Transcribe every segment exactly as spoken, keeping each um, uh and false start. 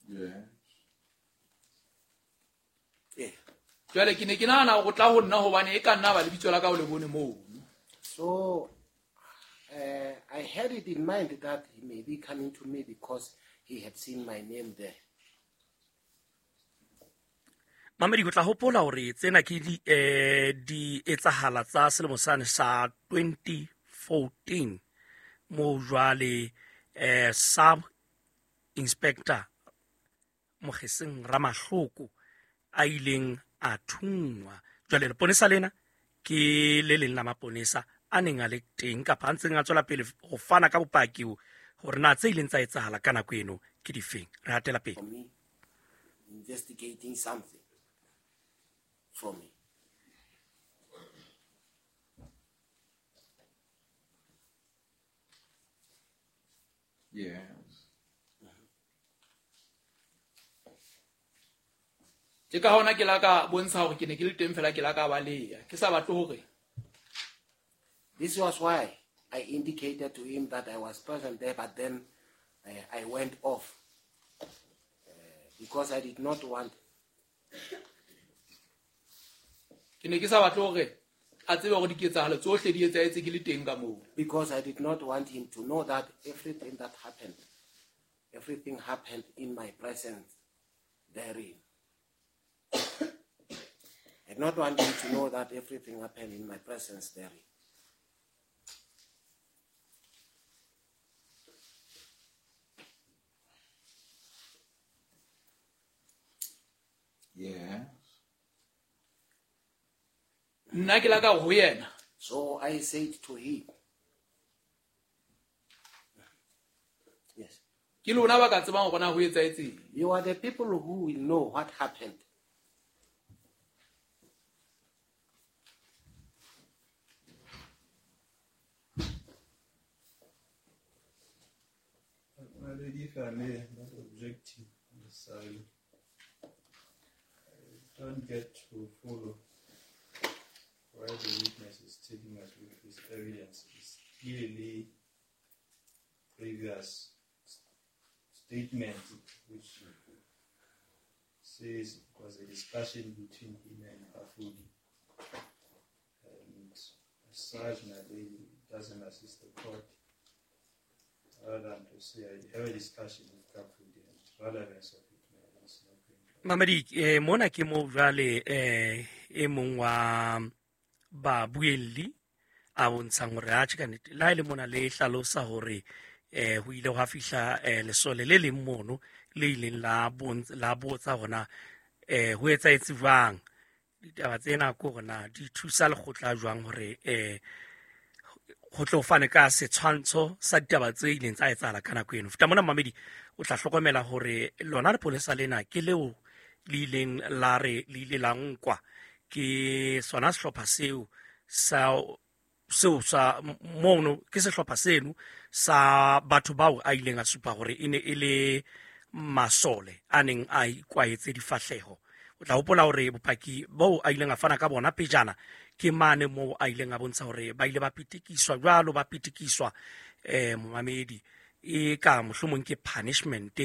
Yes. Yeah. Jwale ke ne ke nahana hore o tla ho nna hobane e ka nna ba lebitso la ka o le bone mono. So uh, I had it in mind that he may be coming to me because he had seen my name there. Mamedi, o tla hopola hore tsena ke di eh di etsahala tsa selemo sane sa twenty fourteen mo jwale eh sub inspector Mogeseng Ramahloko a ileng a thungwa. Jwale leponesa lena ke le leng la maponesa a neng a le teng kapa a ntseng a tswela pele ho fana ka bopaki hore na tse ileng tsa etsahala ka nako eno ke difeng. Re hatela pele. For me, investigating something for me. Yes. Ke ka hona ke la ka bontsha hore ke ne ke le teng fela ke la ka baleha. Ke sa batle hore. This was why I indicated to him that I was present there, but then I, I went off, uh, because I did not want. Ke ne ke sa batle hore a tsebe hore diketsahalo tsohle di etsahetse ke le teng ka moo. Because I did not want him to know that everything that happened, everything happened in my presence therein. I did not want him to know that everything happened in my presence therein. Yeah. Nna ke la ka ho yena. So I said to him, yes. Ke lona ba ka tsebang hore na ho etsahetseng. You are the people who will know what happened. My lady, if I may, not objecting necessarily. I don't get to follow why the witness is taking us with his evidence. It's clearly previous statement which says it was a discussion between him and Kafudi. And as such, my lady doesn't assist the court other than to say I have a discussion with Kafudi and relevance of it. It's not going to Mamedi, eh, mona ke mo jwale, eh, e mong wa babuelli a bontshang hore atjhe ka nnete, le ha e le mona le hlalosa hore, eh, ho ile hwa fihla, eh, lesole le leng mono le ileng la bontsa, la botsa hore na, eh, ho etsahetse jwang. Ditaba tsena ke hore na di thusa lekgotla jwang hore, eh, ho tlo fane ka setshwantsho sa ditaba tse ileng tsa etsahala ka nako eno. Feta mona mamedi, o tla hlokomela hore lona lepolesa lena ke leo le ileng la re le ile la nkwa ke sona sehlopha seo sa seo sa mono, ke sehlopha seno sa batho bao a ileng a supa hore e ne e le masole a neng a ikwaetse difahleho. O tla hopola hore bopaki boo a ileng a fana ka bona pejana ke mane moo a ileng a bontsha hore ba ile ba pitikiswa jwalo, ba pitikiswa, eh, momamedi, e ka mohlomong ke punishment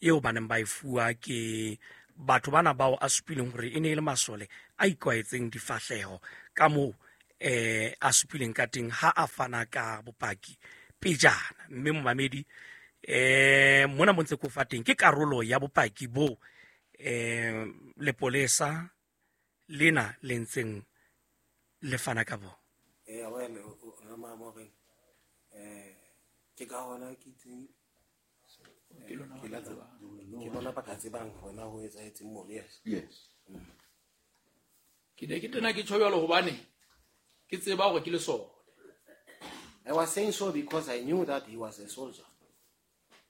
eo ba neng ba e fuwa ke batho bana bao a supileng hore e ne e le masole a ikwaetseng difahleho ka moo, eh, a supileng ka teng ha a fana ka bopaki pejana. Mme momamedi, eh, mona mo ntse ko fa teng ke karolo ya bopaki bo, eh, lepolesa lena le ntseng le fana ka bo. Eh, well, o, o, Ramamoreng, eh, ke ka hona ke itseng, Ke lona ba ka tsebang. Ke lona ba ka tsebang hona ho etsahetseng moo, yes. Yes. Ke ne ke tena ke tjho jwalo hobane ke tseba hore ke lesole. I was saying so because I knew that he was a soldier.